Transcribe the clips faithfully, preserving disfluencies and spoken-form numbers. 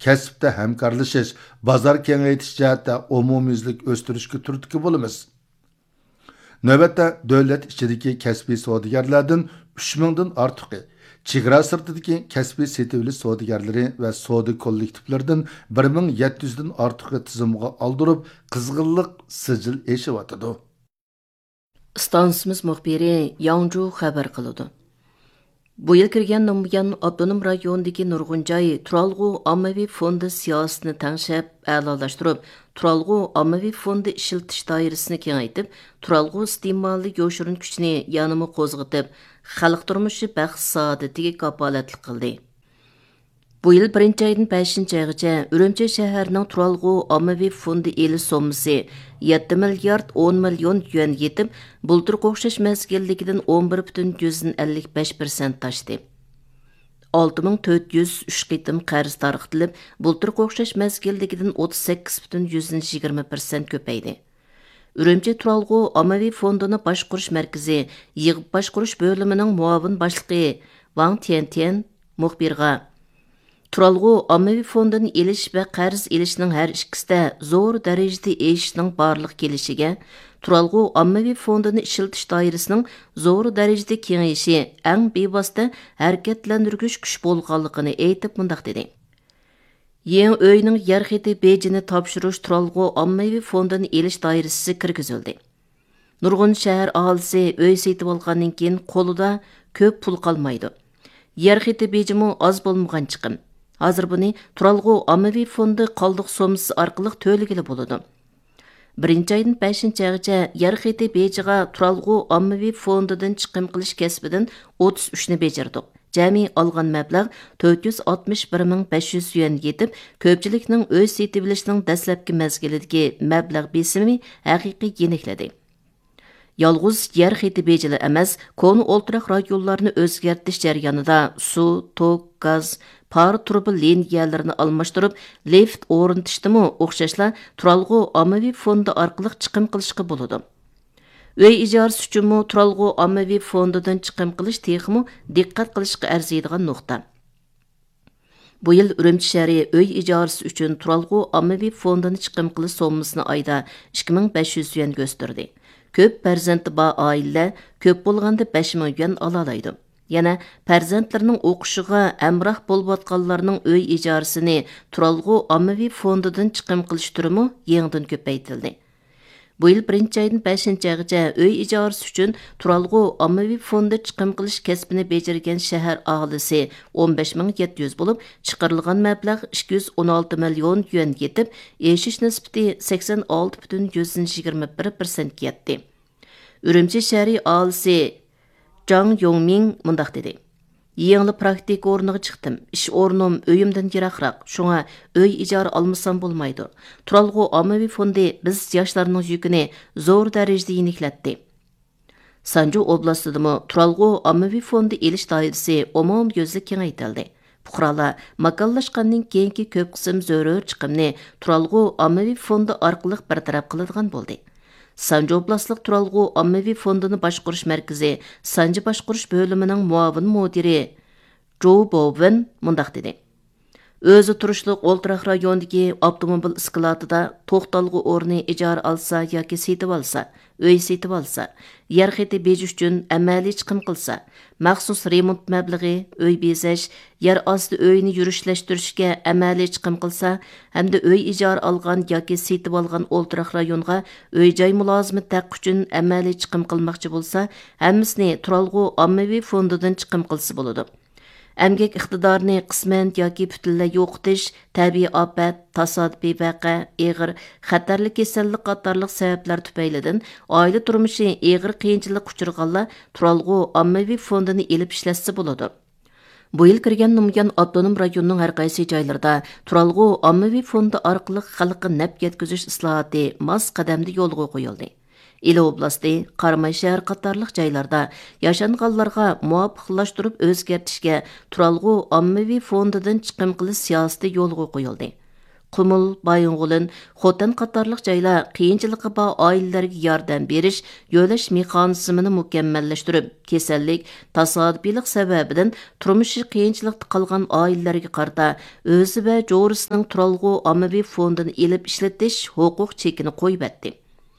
كەسىپتە ھەمكارلىشىش، بازار كېڭەيتىش جەھەتتە ئومۇميۈزلۈك ئۆستۈرۈشكە تۈرتكە بولىمىز. نۆۋەتتە دۆلەت ئىچىدىكى كەسپىي سودىگەرلەردىن ئۈچ مىڭدىن ئارتۇقى، چېگرا سىرتىدىكى كەسپىي سېتىۋېلىش سودىگەرلىرى ۋە سودا كوللېكتىپلىرىدىن بىر مىڭ يەتتە يۈزدىن ئارتۇقى تىزىمغا ئالدۇرۇپ، قىزغىنلىق سىجىل ئېشىۋاتىدۇ. ئىستانسىمىز مۇخبىرى ياڭجۇ خەۋەر قىلىدۇ. بۇ يىل كىرگەندىن بۇيان، ئاپتونوم رايوندىكى نۇرغۇن جاي تۇرالغۇ ئاممىۋى فوندى سىياسىتىنى تەڭشەپ، ئەلالاشتۇرۇپ، تۇرالغۇ ئاممىۋى فوندى ئىشلىتىش دائىرىسىنى كېڭەيتىپ، تۇرالغۇ ئىستېمالى يوشۇرۇن كۈچىنى يەنىمۇ قوزغىتىپ، خەلق تۇرمۇشى بەخت-سائادىتىگە كاپالەتلىك قىلدى. بۇ يىل بىرىنچى ئايدىن بەشىنچى ئايغىچە ئۈرۈمچى شەھىرىنىڭ تۇرالغۇ ئاممىۋى فوندى ئېلىش سوممىسى يەتتە مىليارد ئون مىليون يۈەن يېتىپ، بۇلتۇرقى ئوخشاش مەزگىلدىكىدىن ئون بىر پۈتۈن يۈزدىن ئەللىك بەش پىرسەنت ئاشتى. ئالتە مىڭ تۆت يۈز ئۈچ قېتىم قەرز تارقىتىلىپ، بۇلتۇرقى ئوخشاش مەزگىلدىكىدىن ئوتتۇز سەككىز پۈتۈن يۈزدىن يىگىرمە پىرسەنت كۆپەيدى. ئۈرۈمچى تۇرالغۇ ئاممىۋى فوندىنى باشقۇرۇش مەركىزى يىغىپ باشقۇرۇش بۆلۈمىنىڭ مۇئاۋىن باشلىقى ۋاڭ تيەنتيەن مۇخبىرغا، تۇرالغۇ ئاممىۋى فوندىنى ئېلىش ۋە قەرز ئېلىشنىڭ ھەر ئىككىسىدە زور دەرىجىدە ئېشىشنىڭ بارلىققا كېلىشىگە، تۇرالغۇ ئاممىۋى فوندىنى ئىشلىتىش دائىرىسىنىڭ زور دەرىجىدە كېڭىيىشى ئەڭ بىۋاسىتە ھەرىكەتلەندۈرگۈچ كۈچ بولغانلىقىنى ئېيتىپ، مۇنداق دېدى. يېڭى ئۆينىڭ يەر خېتى بېجىنى تاپشۇرۇش تۇرالغۇ ئاممىۋى فوندىنى ئېلىش دائىرىسىگە كىرگۈزۈلدى. نۇرغۇن شەھەر ئاھالىسى ئۆي سېتىۋالغاندىن كېيىن قولىدا كۆپ پۇل قالمايدۇ. يەر خېتى بېجىمۇ ئاز بولمىغان چىقىم. ھازىر بۇنى تۇرالغۇ ئاممىۋى فوندى قالدۇق سوممىسى ئارقىلىق تۆلىگىلى بولىدۇ. بىرىنچى ئايدىن بەشىنچى ئايغىچە يەر خېتى بېجىغا تۇرالغۇ ئاممىۋى فوندىدىن چىقىم قىلىش كەسپىدىن ئوتتۇز ئۈچنى بېجىردۇق. جەمئىي ئالغان مەبلەغ تۆت يۈز ئاتمىش بىر مىڭ بەش يۈز يۈەن يېتىپ، كۆپچىلىكنىڭ ئۆي سېتىۋېلىشنىڭ دەسلەپكى مەزگىلىدىكى مەبلەغ بېسىمى ھەقىقىي يېنىكلىدى. يالغۇز يەر خېتى بېجىلا ئەمەس، كونا ئولتۇراق رايونلارنى ئۆزگەرتىش جەريانىدا سۇ، توك، گاز، پارە تۇرۇبا لىنىيەلىرىنى ئالماشتۇرۇپ، لىفت ئورنىتىشتىمۇ ئوخشاشلا تۇرالغۇ ئاممىۋى فوندى ئارقىلىق چىقىم قىلىشقا بولىدۇ. ئۆي ئىجارىسى ئۈچۈنمۇ تۇرالغۇ ئاممىۋى فوندىدىن چىقىم قىلىش تېخىمۇ دىققەت قىلىشقا ئەرزىيدىغان نۇقتا. بۇ يىل ئۈرۈمچى شەھىرى ئۆي ئىجارىسى ئۈچۈن تۇرالغۇ ئاممىۋى فوندىنى چىقىم قىلىش سوممىسىنى ئايدا ئىككى مىڭ بەش يۈز يۈەنگە ئۆستۈردى. كۆپ پەرزەنتى بار ئائىلىلەر كۆپ بولغاندا بەش مىڭ يۈەن ئالالايدۇ. يەنە پەرزەنتلىرىنىڭ ئوقۇشىغا ھەمراھ بولۇۋاتقانلارنىڭ ئۆي ئىجارىسىنى تۇرالغۇ ئاممىۋى فوندىدىن چىقىم قىلىش تۈرىمۇ يېڭىدىن كۆپەيتىلدى. بۇ يىل بىرىنچى ئايدىن بەشىنچى ئايغىچە ئۆي ئىجارىسى ئۈچۈن تۇرالغۇ ئاممىۋى فوندى چىقىم قىلىش كەسپىنى بېجىرگەن شەھەر ئاھالىسى ئون بەش مىڭ يەتتە يۈز بولۇپ، چىقىرىلغان مەبلەغ ئىككى يۈز ئون ئالتە مىليون يۈەن يېتىپ، ئېشىش نىسبىتى سەكسەن ئالتە پۈتۈن يۈزدىن يىگىرمە بىر پىرسەنتكە يەتتى. ئۈرۈمچى شەھىرى ئاھالىسى جاڭ يوڭمىڭ مۇنداق دېدى: يېڭىلا پراكتىكا ئورنىغا چىقتىم. ئىش ئورنۇم ئۆيۈمدىن يىراقراق، شۇڭا ئۆي ئىجارە ئالمىسام بولمايدۇ. تۇرالغۇ ئاممىۋى فوندى بىز ياشلارنىڭ يۈكىنى زور دەرىجىدە يېنىكلەتتى. سانجۇ ئوبلاستىدىمۇ تۇرالغۇ ئاممىۋى فوندى ئېلىش دائىرىسى ئومۇميۈزلۈك كېڭەيتىلدى. پۇقرالار ماكانلاشقاندىن كېيىنكى كۆپ قىسىم زۆرۈر چىقىمنى تۇرالغۇ ئاممىۋى فوندى ئارقىلىق بىر تەرەپ قىلىدىغان بولدى. سانجى ئوبلاستلىق تۇرالغۇ ئاممىۋى فوندىنى باشقۇرۇش مەركىزى سانجى باشقۇرۇش بۆلۈمىنىڭ مۇئاۋىن مۇدىرى جوۋ بوۋېن مۇنداق دېدى: ئۆزى تۇرۇشلۇق ئولتۇراق رايونىدىكى ئاپتوموبىل ئىسكىلاتىدا توختالغۇ ئورنى ئىجارە ئالسا ياكى سېتىۋالسا، ئۆي سېتىۋالسا، يەر خېتى بېجى ئۈچۈن ئەمەلىي چىقىم قىلسا، مەخسۇس رېمونت مەبلىغى، ئۆي بېزەش، يەر ئاستى ئۆيىنى يۈرۈشلەشتۈرۈشكە ئەمەلىي چىقىم قىلسا ھەمدە ئۆي ئىجارە ئالغان ياكى سېتىۋالغان ئولتۇراق رايونغا ئۆي-جاي مۇلازىمىتى ھەققى ئۈچۈن ئەمەلىي چىقىم قىلماقچى بولسا، ھەممىسىنى تۇرالغۇ ئاممىۋى فوندىدىن چىقىم قىلسا بولىدۇ. ئەمگەك ئىقتىدارىنى قىسمەن ياكى پۈتۈنلەي يوقىتىش، تەبىئىي ئاپەت، تاسادىپىي ۋەقە، ئېغىر خەتەرلىك كېسەللىك قاتارلىق سەۋەبلەر تۈپەيلىدىن ئائىلە تۇرمۇشى ئېغىر قىيىنچىلىققا ئۇچرىغانلار تۇرالغۇ ئاممىۋى فوندىنى ئېلىپ ئىشلەتسە بولىدۇ. بۇ يىل كىرگەندىن بۇيان، ئاپتونوم رايوننىڭ ھەر قايسى جايلىرىدا تۇرالغۇ ئاممىۋى فوندى ئارقىلىق خەلققە نەپ يەتكۈزۈش ئىسلاھاتى ماس قەدەمدە يولغا قويۇلدى. ئىلى ئوبلاستى، قاراماي شەھەر قاتارلىق جايلاردا ياشانغانلارغا مۇۋاپىقلاشتۇرۇپ ئۆزگەرتىشكە تۇرالغۇ ئاممىۋى فوندىدىن چىقىم قىلىش سىياسىتى يولغا قويۇلدى. قۇمۇل، بايىنغولىن، خوتەن قاتارلىق جايلار قىيىنچىلىقى بار ئائىلىلەرگە ياردەم بېرىش، يۆلەش مېخانىزمىنى مۇكەممەللەشتۈرۈپ، كېسەللىك، تاسادىپىيلىق سەۋەبىدىن تۇرمۇشى قىيىنچىلىقتا قالغان ئائىلىلەرگە قارىتا ئۆزى ۋە جورىسىنىڭ تۇرالغۇ ئاممىۋى فوندىنى ئېلىپ ئىشلىتىش ھوقۇق چېكىنى قويۇۋەتتى.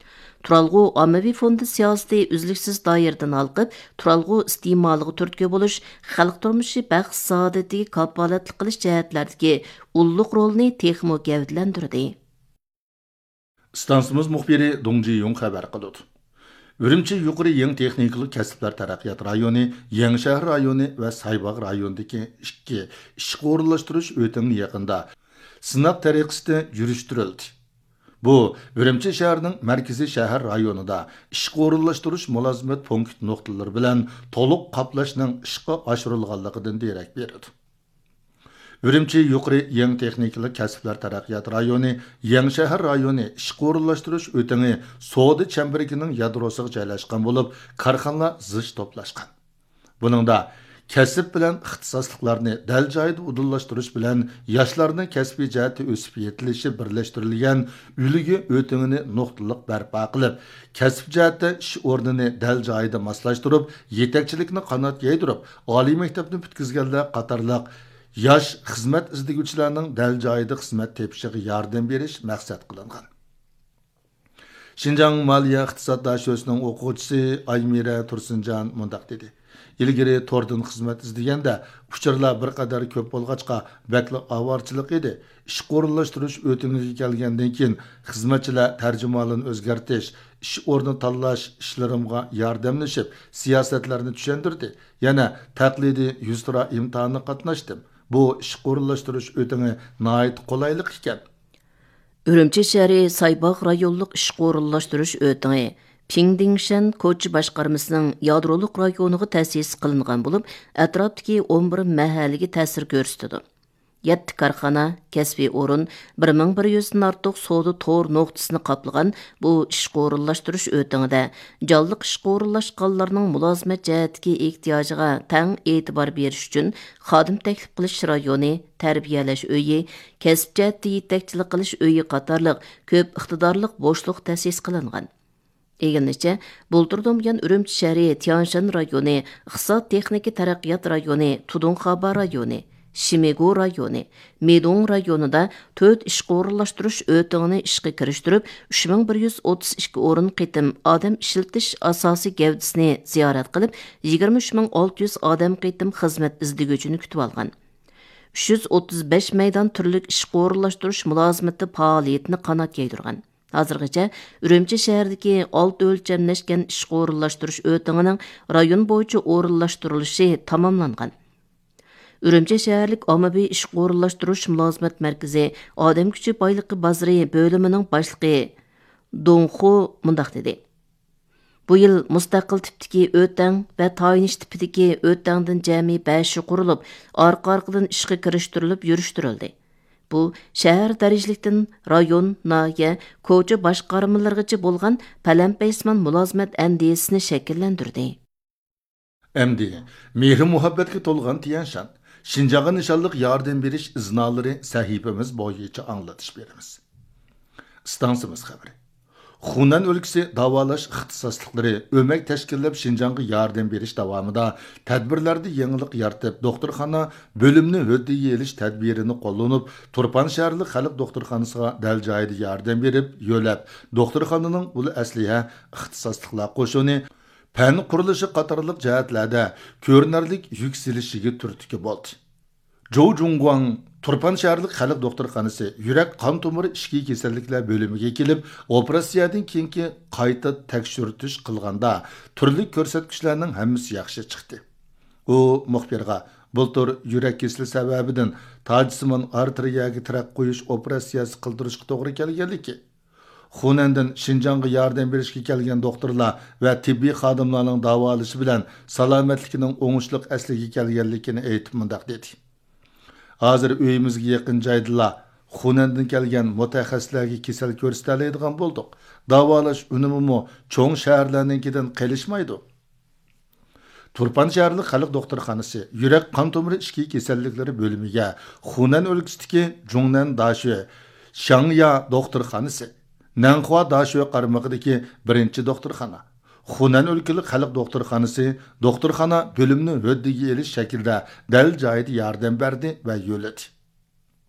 تۇرالغۇ ئاممىۋى فوندى سىياسىتى ئۈزلۈكسىز دائىرىدىن ھالقىپ، تۇرالغۇ ئىستېمالىغا تۈرتكە بولۇش، خەلق تۇرمۇشى بەخت-سائادىتىگە كاپالەتلىك قىلىش جەھەتلەردىكى ئۇللۇق رولىنى تېخىمۇ گەۋدىلەندۈردى. ئىستانسىمىز مۇخبىرى دۇڭ جىيۇڭ خەۋەر قىلىدۇ. ئۈرۈمچى يۇقىرى يېڭى تېخنىكىلىق كەسىپلەر تەرەققىيات رايونى، يېڭىشەھەر رايونى ۋە سايباغ رايونىدىكى ئىككى ئىشقا ئورۇنلاشتۇرۇش ئۆتىڭى يېقىندا سىناق تەرىقىسىدە يۈرۈشتۈرۈلدى. بۇ ئۈرۈمچى شەھىرىنىڭ مەركىزىي شەھەر رايونىدا ئىشقا ئورۇنلاشتۇرۇش مۇلازىمەت پونكىت نۇقتىلىرى بىلەن تولۇق قاپلاشنىڭ ئىشقا ئاشۇرۇلغانلىقىدىن دېرەك بېرىدۇ. ئۈرۈمچى يۇقىرى يېڭى تېخنىكىلىق كەسىپلەر تەرەققىيات رايونى، يېڭىشەھەر رايونى ئىشقا ئورۇنلاشتۇرۇش ئۆتىڭى سودا چەمبىرىكىنىڭ يادروسىغا جايلاشقان بولۇپ، كارخانىلار زىچ توپلاشقان. بۇنىڭدا كەسىپ بىلەن ئىختىساسلىقلارنى دەل جايىدا ئۇدۇللاشتۇرۇش بىلەن ياشلارنىڭ كەسپىي جەھەتتە ئۆسۈپ يېتىلىشى بىرلەشتۈرۈلگەن ئۈلگە ئۆتىڭىنى نۇقتىلىق بەرپا قىلىپ، كەسىپ جەھەتتە ئىش ئورنىنى دەل جايىدا ماسلاشتۇرۇپ، يېتەكچىلىكنى قانات يايدۇرۇپ، ئالىي مەكتەپنى پۈتكۈزگەنلەر قاتارلىق ياش خىزمەت ئىزدىگۈچىلەرنىڭ دەل جايىدا خىزمەت تېپىشىغا ياردەم بېرىش مەقسەت قىلىنغان. شىنجاڭ مالىيە ئىقتىساد داشۆسىنىڭ ئوقۇغۇچىسى ئايمىرە تۇرسۇنجان مۇنداق دېدى: ئىلگىرى توردىن خىزمەت ئىزدىگەندە ئۇچۇرلار بىر قەدەر كۆپ بولغاچقا بەكلا ئاۋارىچىلىق ئىدى. ئىشقا ئورۇنلاشتۇرۇش ئۆتۈڭىگە كەلگەندىن كېيىن خىزمەتچىلەر تەرجىمانلىرىنى ئۆزگەرتىش، ئىش ئورنى تاللاش ئىشلىرىمغا ياردەملىشىپ، سىياسەتلەرنى چۈشەندۈردى. يەنە تەقلىدىي يۈزتۇرا ئىمتىھانغا قاتناشتىم. بۇ ئىشقا ئورۇنلاشتۇرۇش ئۆتىڭى ناھايىتى قولايلىق ئىكەن. ئۈرۈمچى شەھىرى سايباغ رايونلۇق ئىشقا ئورۇنلاشتۇرۇش ئۆتىڭى پىڭدىڭشەن كوچا باشقارمىسىنىڭ يادرولۇق رايونىغا تەسىس قىلىنغان بولۇپ، ئەتراپتىكى ئون بىر مەھەللىگە تەسىر كۆرسىتىدۇ. يەتتە كارخانا، كەسپىي ئورۇن، بىر مىڭ بىر يۈزدىن ئارتۇق سودا تور نۇقتىسىنى قاپلىغان بۇ ئىشقا ئورۇنلاشتۇرۇش ئۆتىڭىدە جانلىق ئىشقا ئورۇنلاشقانلارنىڭ مۇلازىمەت جەھەتتىكى ئېھتىياجىغا تەڭ ئېتىبار بېرىش ئۈچۈن خادىم تەكلىپ قىلىش رايونى، تەربىيەلەش ئۆيى، كەسىپ جەھەتتە يېتەكچىلىك قىلىش ئۆيى قاتارلىق كۆپ ئىقتىدارلىق بوشلۇق تەسىس قىلىنغان. ئىگىلىنىشىچە، بۇلتۇردىن بۇيان ئۈرۈمچى شەھىرى تيەنشان رايونى، ئىقتىساد تېخنىكا تەرەققىيات رايونى، تۇدۇڭخابا رايونى، شىمىگۇ رايونى، مىدۇڭ رايونىدا تۆت ئىشقا ئورۇنلاشتۇرۇش ئۆتىڭىنى ئىشقا كىرىشتۈرۈپ، ئۈچ مىڭ بىر يۈز ئوتتۇز ئىككى ئورۇن قېتىم ئادەم ئىشلىتىش ئاساسىي گەۋدىسىنى زىيارەت قىلىپ، يىگىرمە ئۈچ مىڭ ئالتە يۈز ئادەم قېتىم خىزمەت ئىزدىگۈچىنى كۈتۈۋالغان. ئۈچ يۈز ئوتتۇز بەش مەيدان تۈرلۈك ئىشقا ئورۇنلاشتۇرۇش مۇلازىمىتى پائالىيىتىنى قانات يايدۇرغان. ھازىرغىچە ئۈرۈمچى شەھىرىدىكى ئالتە ئۆلچەملەشكەن ئىشقا ئورۇنلاشتۇرۇش ئۆتىڭىنىڭ رايون بويىچە ئورۇنلاشتۇرۇلۇشى تاماملانغان. ئۈرۈمچى شەھەرلىك ئاممىۋى ئىشقا ئورۇنلاشتۇرۇش مۇلازىمەت مەركىزى ئادەم كۈچى بايلىقى بازىرى بۆلۈمىنىڭ باشلىقى دۇڭخۇ مۇنداق دېدى: بۇ يىل مۇستەقىل تىپتىكى ئۆتەڭ ۋە تايىنىش تىپىدىكى ئۆتەڭدىن جەمئىي بەشى قۇرۇلۇپ، ئارقا-ئارقىدىن ئىشقا كىرىشتۈرۈلۈپ يۈرۈشتۈرۈلدى. بۇ شەھەر دەرىجىلىكتىن رايون، ناھىيە، كوچا باشقارمىلىرىغىچە بولغان پەلەمپەيسىمان مۇلازىمەت ئەندىزىسىنى شەكىللەندۈردى. ئەمدى مېھرى-مۇھەببەتكە تولغان تيەنشان، شىنجاڭغا نىشانلىق ياردەم بېرىش ئىزنالىرى سەھىپىمىز بويىچە ئاڭلىتىش بېرىمىز. ئىستانسىمىز خەۋىرى. خۇنەن ئۆلكىسى داۋالاش ئىختىساسلىقلىرى ئۆمەك تەشكىللەپ، شىنجاڭغا ياردەم بېرىش داۋامىدا تەدبىرلەردە يېڭىلىق يارىتىپ، دوختۇرخانا بۆلۈمنى ھۆددىگە ئېلىش تەدبىرىنى قوللىنىپ، تۇرپان شەھەرلىك خەلق دوختۇرخانىسىغا دەل جايىدا ياردەم بېرىپ، يۆلەپ، دوختۇرخانىنىڭ ئۇل ئەسلىھە، ئىختىساسلىقلار قوشۇنى، پەن قۇرۇلۇشى قاتارلىق جەھەتلەردە كۆرۈنەرلىك يۈك سېلىشىگە تۈرتكە بولدى. جوۋ جۇڭگۇاڭ تۇرپان شەھەرلىك خەلق دوختۇرخانىسى يۈرەك قان تومۇر ئىچكى كېسەللىكلەر بۆلۈمىگە كېلىپ، ئوپېراتسىيەدىن كېيىنكى قايتا تەكشۈرتۈش قىلغاندا، تۈرلۈك كۆرسەتكۈچلەرنىڭ ھەممىسى ياخشى چىقتى. ئۇ مۇخبىرغا بۇلتۇر يۈرەك كېسىلى سەۋەبىدىن تاجسىمان ئارتېرىيەگە تىرەك قويۇش ئوپېراتسىيەسى قىلدۇرۇشقا توغرا كەلگەنلىكى، خۇنەندىن شىنجاڭغا ياردەم بېرىشكە كەلگەن دوختۇرلار ۋە تېببىي خادىملارنىڭ داۋالىشى بىلەن سالامەتلىكىنىڭ ئوڭۇشلۇق ئەسلىگە كەلگەنلىكىنى ئېيتىپ مۇنداق دېدى: ھازىر ئۆيىمىزگە يېقىن جايدىلا خۇنەندىن كەلگەن مۇتەخەسسىسلەرگە كېسەل كۆرسىتەلەيدىغان بولدۇق. داۋالاش ئۈنۈمىمۇ چوڭ شەھەرلەرنىڭكىدىن قېلىشمايدۇ. تۇرپان شەھەرلىك خەلق دوختۇرخانىسى يۈرەك قان تومۇرى ئىچكى كېسەللىكلىرى بۆلۈمىگە خۇنەن ئۆلكىسىدىكى جۇڭنەن داشۆ شاڭيا دوختۇرخانىسى، نەنخۇا داشۆ قارمىقىدىكى بىرىنچى دوختۇرخانا، خۇنەن ئۆلكىلىك خەلق دوختۇرخانىسى دوختۇرخانا بۆلۈمنى ھۆددىگە ئېلىش شەكلىدە دەل جايىدا ياردەم بەردى ۋە يۆلىدى.